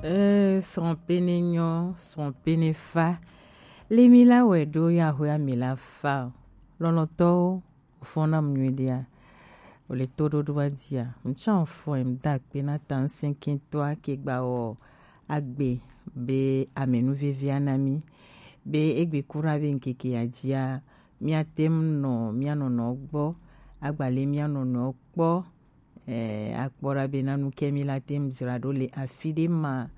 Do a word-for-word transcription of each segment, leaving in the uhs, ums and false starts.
Eh, srɔ̃pene nyɔ, srɔ̃pene fa. Le mi la wɛ ɖo ya hwe ami la fa o. Lɔlɔtɔwo, fɔna mu nyuiɖea. O le to ɖoɖo wa dia. Ŋtsɔ fɔ em da kpe na ta ŋsɛnkɛtɔa ke gba wɔ agbe be amenu vevia na mi. Be egbe kura be ŋkeke ya dia. Mia tem nɔ, mia nɔnɔ gbɔ. Agba le mia nɔnɔ kpɔ. Eh, akpɔ ɖa be nanu ke mi la tem dzra ɖo le afi ɖe ma.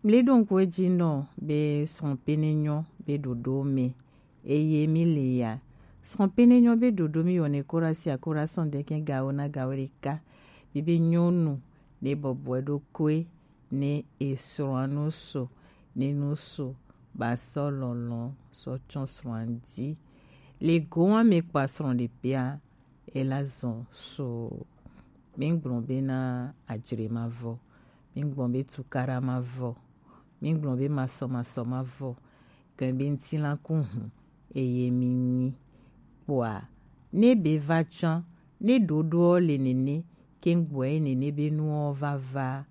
Mle ɖo ŋku edzi nɔ be srɔ̃pene nyɔ be ɖoɖo me. Eye mi le ya. Srɔ̃pene nyɔ be ɖoɖo mi wɔne kora si akora sɔn deke gawo na gawo ɖeka. Bi be nyɔnu ne bɔbɔe ɖo koe ne esrɔ̃a no so, ne no so ba sɔ lɔlɔ sɔ tsɔ srɔ̃a di. Le gowa me kpa srɔ̃ ɖe pea, ela zɔn so. Mi gblɔ be na adzre ma vɔ. Mi gblɔ be tukara ma vɔ. Mi gblɔ be masɔmasɔ ma vɔ. Kɛn be ŋtilanku hũ eye mi nyi. Kpɔa, ne be va tsã, ne ɖoɖoɔ le nene, ke ŋgbɔe nene be nuɔ va va.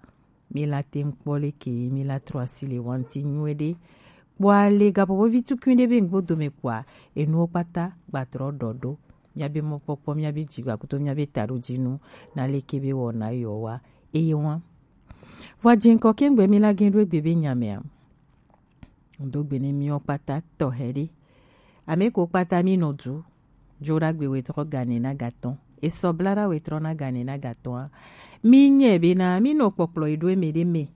Mi la te ŋkpɔ leke mi la trɔ asi le wanti nyuie ɖe. Kpɔa le gapopovi tukui ɖe be ŋgbo dome kpɔa, enuwo kpata gbatrɔ ɖɔ ɖo. Miabe mɔkpɔkpɔ, miabe dzigbakuto, miabe taɖodzinu, na leke be wɔna yɔ wa. Eye wa. Vɔ dziŋkɔ ke ŋgbɛ mi la gẽ ɖo egbe be nyamea. Ŋdo gbe ne miɔ kpata tɔxɛ ɖe. Ame ko kpata mi nɔ du. Joɖagbe wetrɔ gane na gatɔn. Esɔ blara wetrɔ na gane na gatɔn. Mi nyɛ be na mi nɔ kpɔkplɔ yi ɖo eme ɖe me.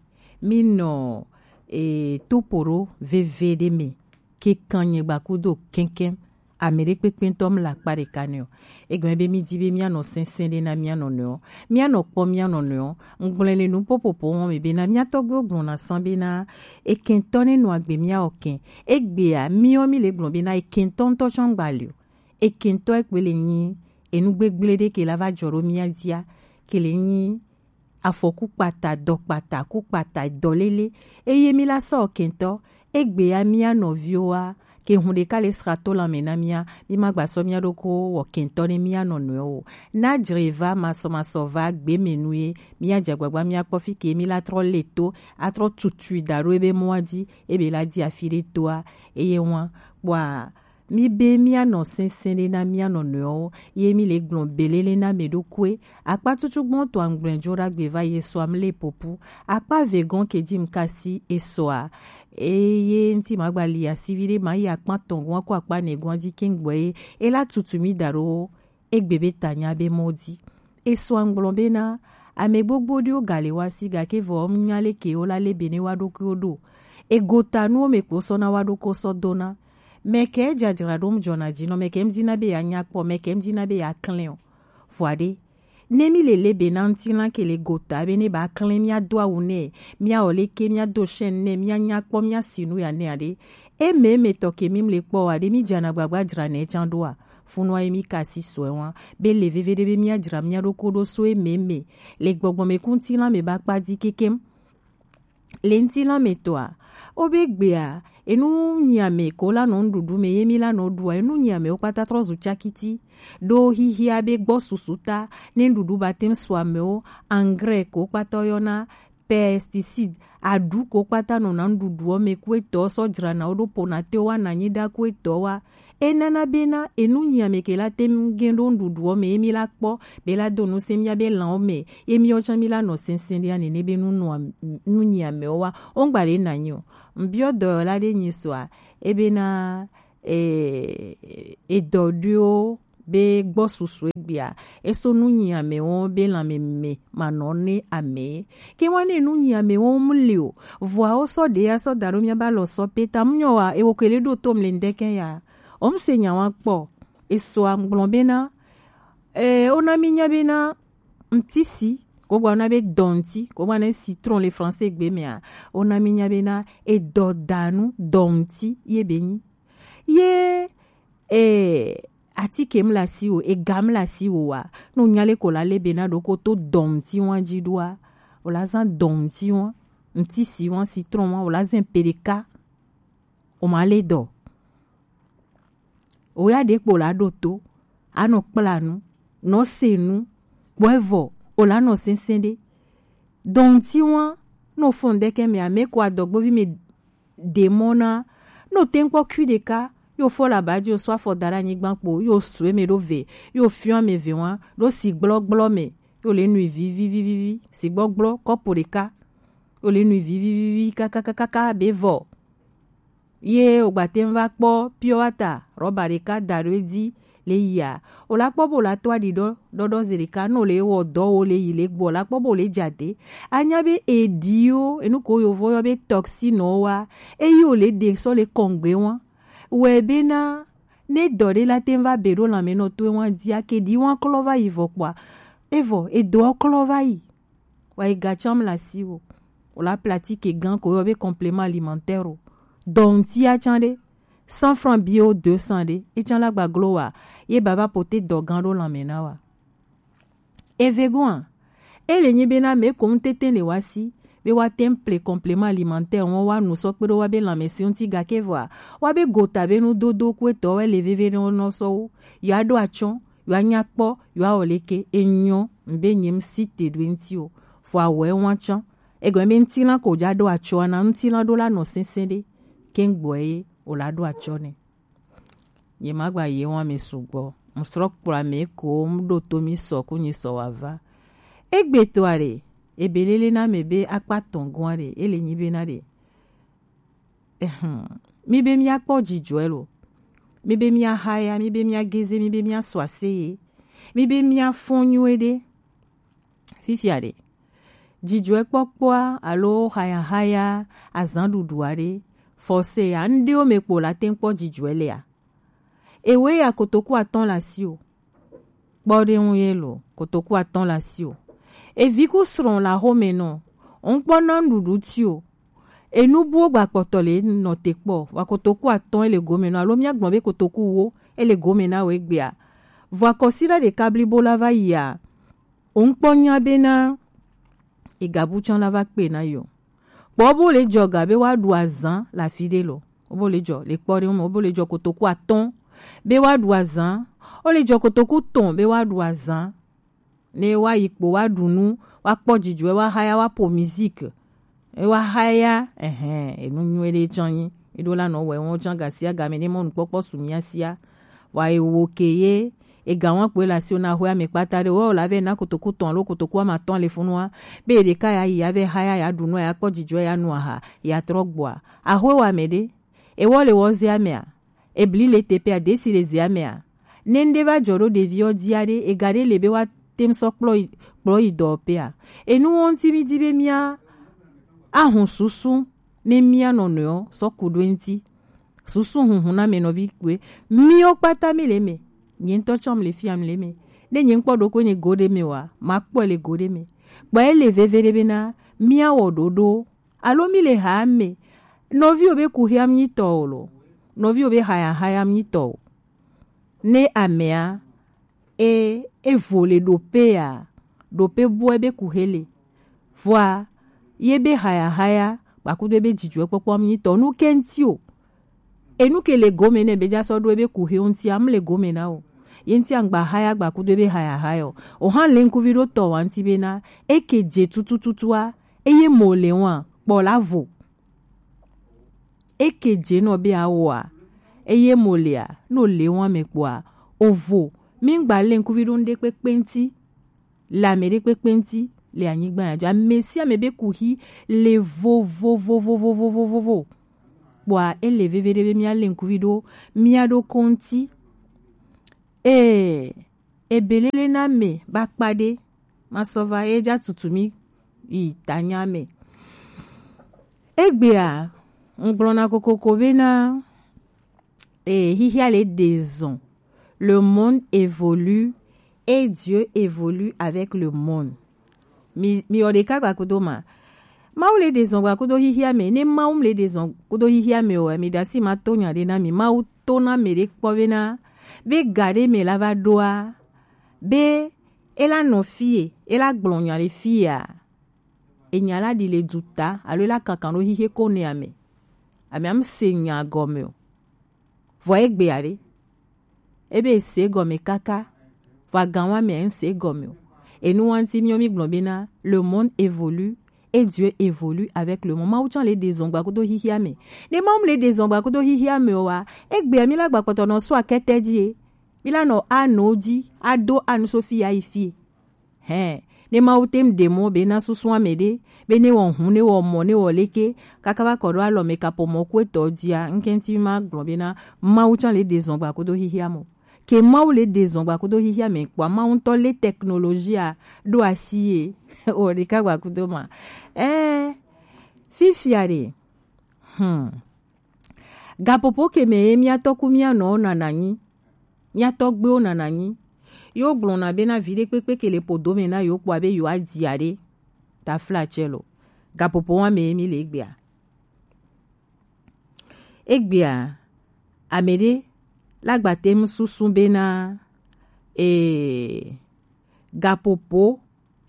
Mi nɔ e topo ɖo veve ɖe me. Ke kan nyɛ gba kudo kɛnkɛn. Ame ɖe kpekpe ŋtɔ mla akpa ɖeka nɛ o. Egɔme be mi di be mianɔ sɛnsɛn ɖe na mianɔ nɔewo. Mianɔ kpɔ mianɔ nɔewo. Ŋgblɔe le nu popopo wɔn me be na mia tɔgbuiwo gblɔ na san be na ekɛntɔ ne nɔ agbe miawɔ kɛn. Egbea miɔ mi le gblɔ be na ekɛntɔ ŋtɔ tsɔ ŋgba le o. Ekɛntɔ ekpe le nyi enu gbegble ɖe ke la va dzɔ ɖo mia dia ke le nyi afɔku kpata, dɔ kpata, ku kpata, dɔ lele. Eye mi la sɔ kɛntɔ, egbe ya mia nɔviwo wa, ke hun ɖeka le sra to lanmɛ na mia, mi ma gba sɔ mia ɖoko wɔ kɛntɔ ne mia nɔ nɔewo o. Na dzre va masɔmasɔ va gbe me nu ye, mia dze agbagba mia kpɔ fi ke mi la trɔ le to, atrɔ tutui da ɖo ebe mɔa dzi, ebe la di afi ɖe toa, eye wa, kpɔa, Mi be mianɔ sɛnsɛn ɖe na mianɔ nɔewo, ye mi le gblɔ belele na mɛ ɖokoe. Akpa tutu gbɔn to angblɛ jo ɖagbe va ye sɔa mi le popu. Akpa ve gɔn ke ji mi kasi esɔa. Eye ŋti ma gba li asivi ɖe ma yi akpa tɔn gɔn ko akpa ne gɔn ji ke ŋgbɔ ye. E la tutu mi da ɖo egbe be ta nya be mɔ di. Esɔa ŋgblɔ be na ame gbogbo ɖewo ga le wa si gake vɔ nya leke wo la le be ne wa ɖokuiwo ɖo. Egota nuwo me kpo sɔ na wa ɖoko sɔ do na. Mɛ kɛ jajra ɖo ŋdzɔna dzi nɔ, mɛ kɛ ŋdina be ya nya kpɔ, mɛ kɛ ŋdina be ya klɛn o. Vɔa ɖe, ne mi le le be na ŋti lan ke le gota be ne ba klɛn mia do awu nɛ, mia wɔ le ke mia do shɛn nɛ, mia nya kpɔ mia si nu ya nɛ aɖe. E mɛ mɛ tɔ ke mi le kpɔ wa ɖe mi jana gbagba jra nɛ can ɖo a. Funua ye mi ka si sɔɛ wa be le veve ɖe be mia jra mia ɖoko ɖo so e mɛ mɛ le gbɔgbɔ mɛ ku ŋti lan mɛ ba kpa di kekem. Le ŋti lan mɛ tɔa, o be gbea, enu nyiame ko la nɔ nuɖuɖu mɛ ye mi la nɔ ɖua, enu nyiame wo kpata trɔ zu cakiti. Ɖo xixia be gbɔ susu ta, ne nuɖuɖu ba tem su amewo, engrais ko kpata yɔna, pesticide, aɖu ko kpata nɔ na nuɖuɖuɔ mɛ ku etɔ sɔ dzra na wo ɖo pona te wa na nyi ɖa ku etɔ wa. Enana bena enu nyiame ke la te gɛn ɖo nuɖuɖuɔ mɛ ye mi la kpɔ be la do nu se mia be lanwo mɛ ye miɔ tsã mi la nɔ sɛnsɛn ɖia nene be nu nua nu nyiamewo wa wo ŋgba le na nyi o. Ŋbiɔ dɔyɔla ɖe nyi sɔa ebe na e edɔ ɖoewo be gbɔ susu egbea eso nu nyiamewo be lanmeme manɔ ne ame ke wa ne nu nyiamewo mu li o vɔa wo sɔ ɖe ya sɔ da ɖo mia ba lɔ sɔ pe ta mu nyɔ wa ewo ke le ɖo tom le ŋdɛkɛ ya. Wo ŋse nya wa kpɔ. Esɔa ŋgblɔ bena, e, wona mi nya bena ŋtisi, ko gba na be dɔnti, ko gba na citron le français gbe mea, wona mi nya bena edɔdanu dɔnti ye be nyi. Ye, e, atike mla si wo, ega mla si wo wa, no nya le ko la le bena ɖoko to dɔnti wa dzi ɖoa, o la zan dɔnti wa, ŋtisi wa, citron wa, o la zan pe ɖeka. O ma le dɔ. O ya ɖe kpo la ɖo to. Anɔ kpla nu. Nɔ se nu. Kpɔe vɔ. O la nɔ sɛnsɛn ɖe. Dɔnti wa. Ne o fɔn ɖekɛ mɛ, ame ko adɔgbovi mɛ ɖe mɔ na. Ne o tɛnkpɔ kui ɖeka, yo fɔ la ba ji o sɔ afɔ da ɖe anyigba kpo, yo su eme ɖo ve, yo fiɔ ame ve wa ɖo si gblɔgblɔ mɛ, yo le nui vivivivivi, si gblɔgblɔ kɔpo ɖeka, yo le nui vivivivi kakakakaka be vɔ. Ye o gba tɛn va kpɔ pure water rɔba ɖeka da ɖo edzi le yia, o la kpɔ bo la to aɖi ɖɔ ɖɔɖɔ ze ɖeka, no le wɔ dɔ wo le yi le gbɔ, o la kpɔ bo le dza de. Anya be eɖi wo, enu ko yovo yɔ be toxine wa, eyi o le ɖe sɔ le kɔngbe wa. Wɛ be na ne dɔ ɖe la tɛn va be ɖo lanmɛ nɔ to wa dzi, ake ɖi wa klɔ va yi vɔ kpɔa, evɔ edo klɔ va yi. Wa yi ga tsam la si o. O la pratique gan ko yɔ be complément alimentaire o. Donc ti a tsan ɖe, cent francs bio deux cents ɖe, e tsan la gba glo wa, ye baba pote dɔ gan ɖo lanmɛ na wa. Eve goa, e le nyi be na me ko ŋtete le wa si, be wa temple complément alimentaire wɔn wa nu sɔ kpe ɖo wa be lanmɛ si ŋti gake vɔa, wa be gota be nu dodo ku etɔ wɛ le veve ɖe nɔ sɔ wo, ya ɖo atsɔ, ya nya kpɔ, ya o leke, enyɔ, mbe nyem si te ɖo ŋti o, fo awɛ wa tsɔ, egɔme be ŋtilã ko ja ɖo atsɔ na ŋtilã ɖo la nɔ sɛnsɛn ɖe, ke ŋgbɔ ye o la ɖo atsɔ nɛ. Nye magba ye wa me sugbɔ. Musrɔ kplɔ ame ko mu ɖo to mi sɔ ku nyi sɔ wa va. Egbe to are, ebe lele na me be akpa tɔn gɔn are, ele nyi be na ɖe. Ehem. Mi be mia kpɔ jijɔɛ lo. Mi be mia haya, mi be mia geze, mi be mia sɔ aseye. Mi be mia fɔn nyuie ɖe. Fifia ɖe, jijɔɛkpɔkpɔa alo hayahaya azanɖuɖu aɖe, fɔse ya, ŋɖewo me kpo la teŋ kpɔ jijɔɛ lea? Ewe ya kotoku atɔ̃ la si o. Kpɔ ɖe ŋu ye lo, kotoku atɔ̃ la si o. Evi ku srɔ̃ la xome nɔ, ŋkpɔ na ŋɖuɖu ti o. Enu buwo gba kpɔtɔ le nɔ te kpɔ, wa kotoku atɔ̃ ele gome nɔ, alo mia gblɔ be kotoku wo ele gome na wo egbea. Vɔ akɔsira ɖeka blibo la va yia. Wo ŋkpɔ nya bena egabu tsã la va kpe na yo. Kpɔ bo le jɔ ga be wa ɖu azan le afi ɖe lo. Wo bo le jɔ le kpɔ ɖe me, wo bo le jɔ kotoku atɔ̃ be wa ɖu azan. Wo le jɔ kotoku tɔ̃ be wa ɖu azan. Ne wa yi kpo wa ɖu nu, wa kpɔ jijɔɛ, wa haya, wa po musique. E wa haya, ɛhɛn, enu nyuie ɖe tsã nyi. Eɖo la nɔ wɛ wɔn tsã gasia game ne mɔnukpɔkpɔ su mia sia. Wa ewo ke ye, ega wɔn kpoe le asiwò na xwe ame kpata ɖe, wɔ la vɛ na kotoku tɔ̃ alo kotoku ame atɔ̃ le funua, be ɖeka ya yi ya vɛ haya ya ɖu nu ya kpɔ jijɔɛ ya nu aha ya trɔ gbɔa. Axwe wa me ɖe, ewɔ le wɔ zea mea, ebli le teƒea, desi le zea mea, ne ŋɖe va dzɔ ɖo ɖeviɔ dzia ɖe, ega ɖe le be wa tem sɔ kplɔ yi, kplɔ yi dɔwɔƒea. Enuwo ŋti mi di be mia ahun susu ne mia nɔnɔewo sɔ ku ɖo eŋti. Susu hunhun na me nɔvi kpoe. Miwo kpata mi le me. Nye ŋutɔ tsɔ mi le fia mi le me. Ne nye ŋkpɔ ɖo ko nye go ɖe me wa, ma kpɔe le go ɖe me. Kpɔ ele veve ɖe bena mia wɔ ɖoɖo. Alo mi le ha me. Nɔviwo be ku hia mi tɔ o lo. Nɔviwo be haya haya mi tɔ o. Ne amea e, evo le ɖoƒea, ɖoƒe bua be ku hele. Vɔa, ye be haya haya, gbakudo be jijɔɛ kpɔkpɔ mi tɔ nu ke ŋti o. Enu ke le gome ne be ja sɔ ɖo ebe ku he ŋti am le gome na o. Ye ŋti angba haya gbakudo be haya haya o. O hã le ŋkuvi ɖo tɔ wa ŋti be na, eke je tutututua, eye mo le wa, kpɔ la vo. Eke dze nɔ be awoa, eye mo lea, no le wɔn me kpɔa, ovo, mi ŋgba le ŋkuvi ɖo ŋɖe kpekpe ŋti, le ame ɖe kpekpe ŋti, le anyigba ya dzi. Ame sia ame be kuxi le vovovovovovovovo. Kpɔa, ele veve ɖe be mia le ŋkuvi ɖo mia ɖo ko ŋti. Ee, ebelele na me ba kpa ɖe, ma sɔ va ye ja tutu mi yi tanya me. Egbea, ŋgblɔna kokoko bena, eh, xixia le ɖe zɔn. Le monde évolue et Dieu évolue avec le monde. Mi, mi wɔ ɖeka gbakudo ma. Mawu le ɖe zɔn gbakudo xixia me. Ne Mawu le ɖe zɔn kudo xixia me o, mi ɖasi ma to nya ɖe na mi. Mawu to na me ɖe kpɔ bena, be ga ɖe me la va ɖoa, be e la nɔ fie, e la gblɔ nya le fia. Enya la ɖi le duta, alo e la kankan ɖo xixe ko ne ame. Ame am se nya gɔme o. Vɔ egbe aɖe. Ebe e se gɔme kaka. Vɔ agan wa me e se gɔme o. Enu wa ŋti miɔ mi gblɔ bena, le monde évolue Et Dieu évolue avec le monde. Mawu tsã le ɖe zɔn gba kudo xixia me. Ne Mawu le ɖe zɔn gba kudo xixia me wa, egbe mi la gba kpɔtɔ nɔ sɔ akɛtɛ ji e. Mi la nɔ a nɔ ji, a do a nu so fi ya yi fie. Hɛn, ne Mawu te ŋ ɖe mɔ be na susu ame ɖe, be ne wɔ hun, ne wɔ mɔ, ne wɔ leke, kaka va kɔ ɖo alɔ me kapo mɔ ku etɔ jia, ŋkɛnti ma gblɔ be na Mawu tsã le ɖe zɔn gba kudo xixia mɔ. Ke Mawu le ɖe zɔn gba kudo xixia me kpɔa, Mawu ŋutɔ le technologie a ɖo asi ye o ɖeka gba kudo ma. Ɛɛ, fifia ɖe, hmm, gapopo ke me ye mía tɔku mía nɔwo nana nyi, mía tɔgbewo nana nyi. Yo gblɔna be na vi ɖe kpekpe ke le podo me na yo kpɔa be yo adia ɖe. Taflatsɛ lo. Gapopo wa me ye mi le egbea. Egbea, ame ɖe la gba te ŋu susu be na, e, gapopo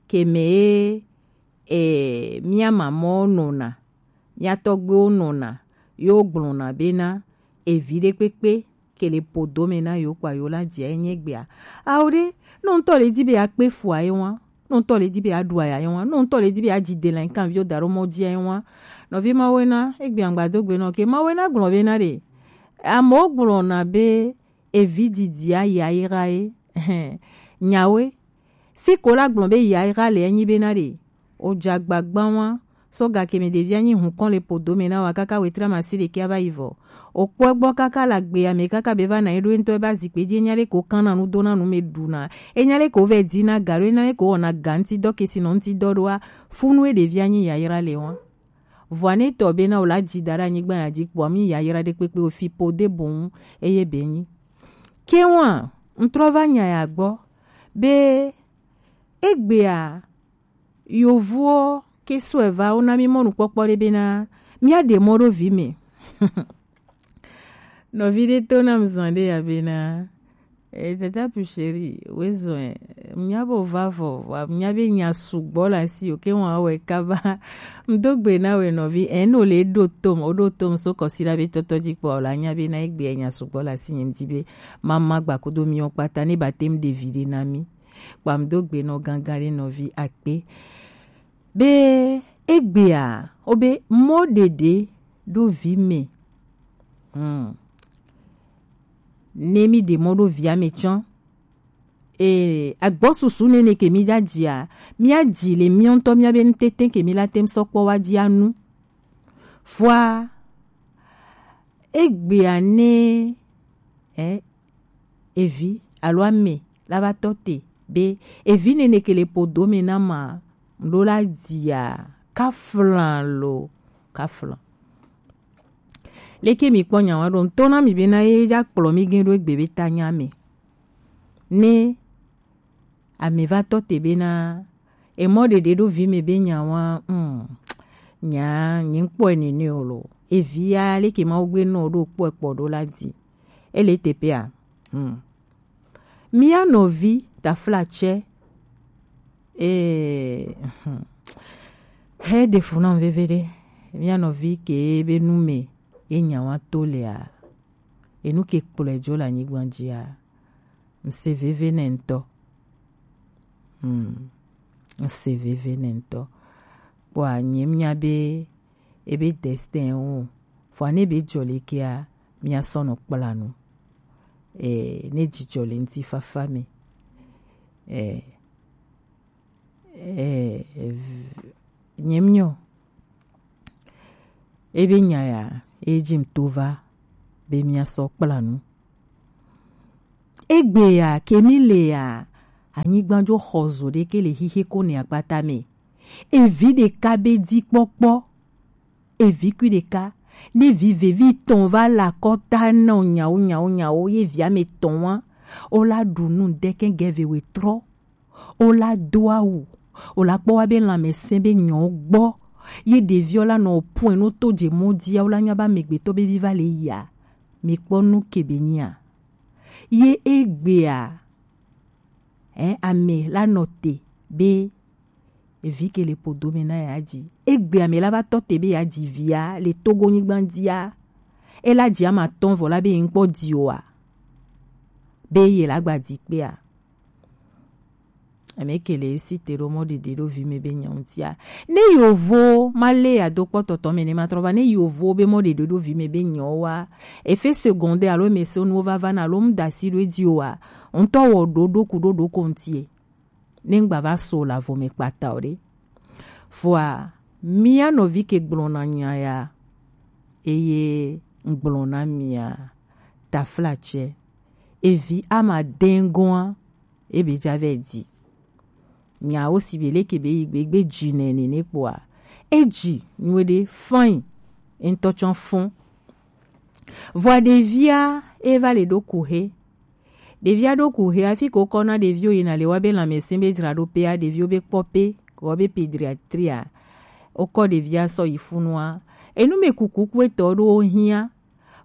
ke me ye, e, mía mamɔwo nɔna, mía tɔgbewo nɔna, yo gblɔna be na evi ɖe kpekpe ke le podo me na yo kpɔa yo la dia enye gbea. Ao ɖe, nɔ ŋutɔ le di be akpe fua ye wa, nɔ ŋutɔ le di be aɖu aya ye wa, nɔ ŋutɔ le di be adzi de lan kan vi o da ɖo mɔ dia ye wa. Nɔvi Mawu na, egbe agbado gbe nɔ ke Mawu na gblɔ be na ɖe. Amewo gblɔna be evi didi a yayra ye. Nyawe. Fi ko la gblɔ be yayra le enyi be na ɖe. O dza gbagba wa. Sɔ gake me ɖevi anyi hun kɔn le podo me na wa kaka wetra masi ɖeke ava yi vɔ. O kpɔ gbɔ kaka la gbe ame kaka be va na eɖo ŋutɔ eba zikpe dzi enya ɖe ko kan na nu do na nu me ɖu na. Enya ɖe ko vɛ di na ga ɖo enya ɖe ko wɔna ga ŋuti dɔ kesi nɔ ŋuti dɔ ɖoa. Funu e ɖevi anyi yayra le wa. Vɔa ne tɔ be na o la dzi da ɖe anyigba ya dzi kpɔa mi yayra ɖe kpekpe o fi po de boŋ eye be nyi. Ke wa ŋtrɔ va nya ya gbɔ be egbea yovuwo ke sɔe va wo na mi mɔnukpɔkpɔ ɖe be na mía ɖe mɔ ɖo vi me. Nɔvi ɖe to nam zan ɖe ya be na, eh, tata pu chéri, we zɔn, eh, mía bo va vɔ, wa mía be nya sugbɔ la si, o ke wa wɛ kaba. Ŋdo gbe na we nɔvi, eh, no le ɖo tom, o ɖo tom so kɔsi la be tɔtɔ dzi kpɔ, o la nya be na egbe nya sugbɔ la si, nye ŋdi be, mama gba kudo mi o kpata, ne ba tem ɖevi ɖe na mi. Kpam do gbe nɔ gangan ɖe nɔvi akpe. Be egbea, o be mɔ ɖeɖe ɖo vi me. Hmm. Ne mi ɖe mɔ ɖo via me tsɔ. E, agbɔsusu nene ke mi dza dzia, mía dzi le mía ŋutɔ mía be nutete ke mi la tem sɔ kpɔ wa dzi anu. Fua, egbea ne, eh, evi alo ame la va tɔ te be evi nene ke le podo me na ma ɖo la dzia kaflan lo kaflan. Leke mi kpɔ nya wa ɖo ŋutɔ na mi be na ye dza kplɔ mi gẽ ɖo egbe be ta nya me. Ne ame va tɔ te be na emɔ ɖeɖe ɖo vi me be nya wa, mm, nya nye kpɔe nene o lo. Evia leke ma wo gbe nɔ ɖo kpɔe kpɔ ɖo la di. Ele teƒea. Hmm. Mía nɔvi taflatsɛ, eh, hmm. He ɖe fu nam veve ɖe. Mía nɔvi ke be nu me ye nya wa to lea. Enu ke kplɔe dzo le anyigba dzia. Ŋse veve nɛ ŋutɔ. Hmm. Ŋse veve nɛ ŋutɔ. Kpɔa, nye mía be, ebe destin wo. Vɔa ne be dzɔ le kea, mía sɔ nɔ kpla nu. Eh, ne dzidzɔ le ŋutifafa me. Eh, eh, v-, nye mía. Ebe nya ya, ye dzi ŋto va be mía sɔ kpla nu. Egbe ya, ke mi le ya, anyigba dzo xɔ zo ɖe ke le xixe ko ne akpata me. Evi ɖeka be dzikpɔkpɔ. Evi kui ɖeka. Ne vi vevi tɔn va le akɔta nɔ nyawo, nyawo, nyawo, ye via me tɔn wa. O la ɖu nu ɖe ke ge ve we trɔ. O la do awu, o la kpɔ wa be lãmesẽ be nyɔ gbɔ, ye ɖeviɔ la nɔ pɔɛ no to dze mɔ dzia, o la nya be amegbetɔ be vi va le yia, mi kpɔ nu ke be nyia. Ye egbea, ɛ, ame la nɔ te be evi ke le podo me na ya dzi. Egbea ame la va tɔ te be ya dzi via le Togo nyigba dzia, e la dzi ama tɔn vɔ la be ye ŋkpɔ di oa, be ye la gba dzi kpea. Ame ke le si te ɖo mɔ ɖeɖe ɖo vi me be nyawo tia. Ne yovo ma le ya do kpɔ tɔtɔ me ne ma trɔ va, ne yovo be mɔ ɖeɖe ɖo vi me be nyawo wa, effet secondaire alo me se nuwo va va na alo mu da si ɖo edzi o wa, ŋutɔ wɔ ɖo ɖo ku ɖo ɖo ko ŋutie. Ne ŋgba va so la vo me kpata o ɖe. Vɔa, mía nɔvi ke gblɔna nya ya, eye ŋgblɔna mia, taflatsɛ, evi ama dengɔa, ebe dza vɛ di. Nyawo si be leke be yi gbe gbe dzi nɛ nene kpoa, edzi nyuie ɖe fain, ŋutɔ tsɔ fɔn. Vɔa ɖevia e va le ɖo kuhe. Ɖevia ɖo kuhe hafi ko kɔ na ɖevio yina le wa be lãmesẽ be dzraɖoƒea, ɖevio be kpɔƒe, ko be pédiatrie a. Wokɔ ɖevia sɔ yi funua. Enu me kuku ku etɔ ɖo hiã.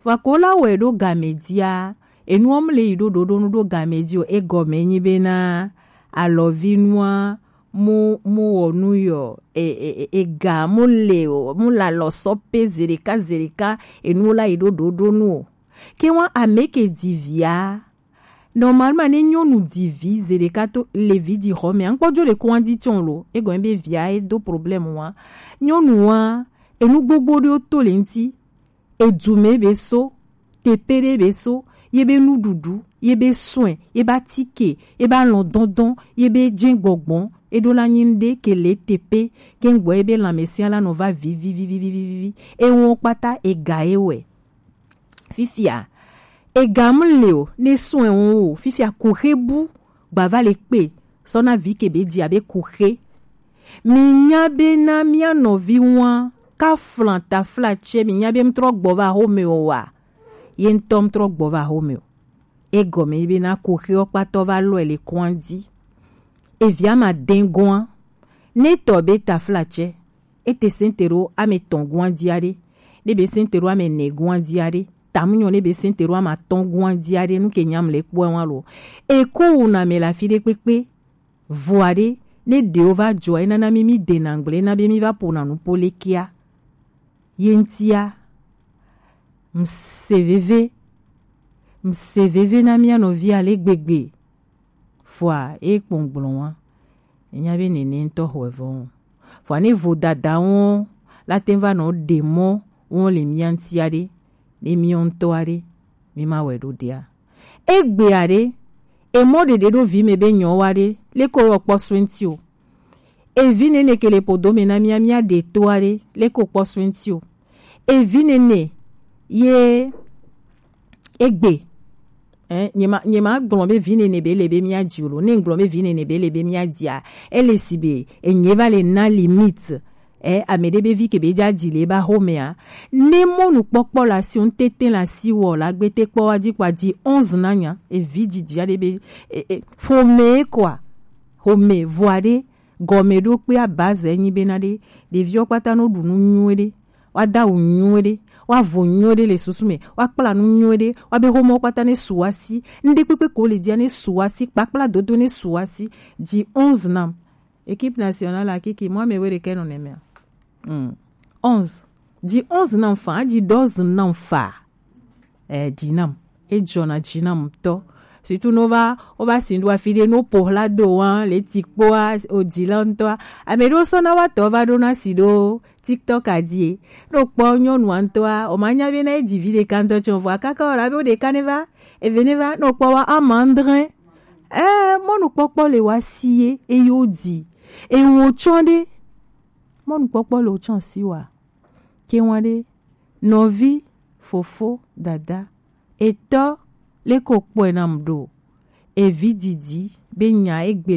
Vɔa ko la wɛ ɖo game dia. Enuɔ mu le yi ɖo ɖoɖonu ɖo game di o. Egɔme nyi be na alɔvinua mu mu wɔ nu yɔ e, e, e, ega mu le o, mu la lɔ sɔ pe zeɖeka zeɖeka, enu la yi ɖo ɖoɖonu o. Ke wa ame ke di via, normalement ne nyɔnu di vi zeɖeka to le vi di xɔ me, ankpɔ jo le ko wa di tsɔn lo, egɔme be via e do problème wa. Nyɔnu wa, enu gbogbo ɖewo to le ŋuti. Edume be so, teƒe ɖe be so, ye be nuɖuɖu, ye be soin, ye be atike, ye be alɔdɔndɔn, ye be dzegbɔgbɔn, eɖo la nyi ŋɖe ke le teƒe, ke ŋgbɔ ye be lãmesẽ la nɔ va vivivivivivi. Ewo kpata ega ye wɛ. Fifia, ega mu le o, ne soin wo o, fifia ko xe bu gbava le kpe sɔ na vi ke be di abe kuxe. Mi nya be na mia nɔvi wan ka flan tafla tsɛ, mi nya be mtrɔ gbɔ va home o wa. Ye ŋtɔ mtrɔ gbɔ va home o. Egɔme be na kuxe ɔ kpatɔ va lɔe le kɔn di. Evia ma den gɔn. Ne tɔ be tafla tsɛ. Ete sɛnte ɖo ame tɔn gɔn di aɖe. Ne be sɛnte ɖo ame ne gɔn di aɖe. Tamu nyɔ ne be sɛnte ɖo ame atɔn gɔn di aɖe, nu ke nyam le kpɔɛ wan lo. Eko wu na me la fi ɖe kpekpe. Vɔa ɖe, ne ɖewo va dzɔa, enana mi mi dena ŋgble na be mi va ƒona nu po lekea. Ye ŋtia, mse veve, mse veve na mia nɔvi ale gbegbe. Vɔa e kpɔn gblɔ wa, enya be nene ŋutɔ xɔe vɔ. Vɔa ne vodada wo la te va nɔ ɖe mɔ wo le mia ŋuti aɖe, ne mia ŋutɔ aɖe, mi ma wɛ ɖo ɖea. Egbea ɖe, emɔ ɖeɖe ɖo vi me be nyɔ wa ɖe, leko wɔ kpɔ soe ŋuti o. Evi nene ke le podo me na mia, mia ɖe to aɖe, leko kpɔ soe ŋuti o. Evi nene ye egbe. Eh, nye ma, nye ma gblɔ be vi nene be le be mia dzi o lo. Ne gblɔ be vi nene be le be mia dzia, ele si be enye va le na limite. Eh, ame ɖe be vi ke be dza dzi le ba xɔmea, ne mɔnukpɔkpɔ le asi o, ŋtete le asi wɔ la gbete kpɔ wa dzi kpɔ dzi onze na nya, evi dzidzi aɖe be, e, e, ƒome kɔa, ƒome vɔa ɖe, gɔme ɖo kpea base nyi be na ɖe, ɖeviwo kpata no ɖu nu nyuie ɖe, wa da awu nyuie ɖe, wa vo nyuie ɖe le susu me, wa kpla nu nyuie ɖe, wa be xɔmewo kpata ne su asi, ŋɖe kpekpe ko le dzia ne su asi, kpakpla dodo ne su asi, dzi onze nam. Équipe nationale akiki, mɔ ame we ɖekɛ nɔ nɛmɛa. Hmm. Onze. Dzi onze nam fa, dzi doze nam fa. Eh, dzi nam. Edzɔna dzi nam ŋutɔ. Surtout ne wova, wova si ɖo afi ɖe, ne woƒo hla do wa, le ti kpoa, o dzi la ŋutɔa. Ame ɖewo sɔna wa tɔ va ɖona si ɖo TikTok a dzi. Ne wokpɔ nyɔnua ŋutɔa, o ma nya be na edzi vi ɖeka ŋutɔ tsɔ vɔa kaka wɔ la be wo ɖeka ne va, eve ne va, ne wokpɔ wa ama andre. Eh, mɔnukpɔkpɔ le wa si ye, eye wo dzi. Eye wo tsɔ ɖe, mɔnukpɔkpɔ le wo tsɔ si wa. Ke wa ɖe, nɔvi, fofo, dada, etɔ, leko kpɔe nam ɖo. Evi didi, be nya egbe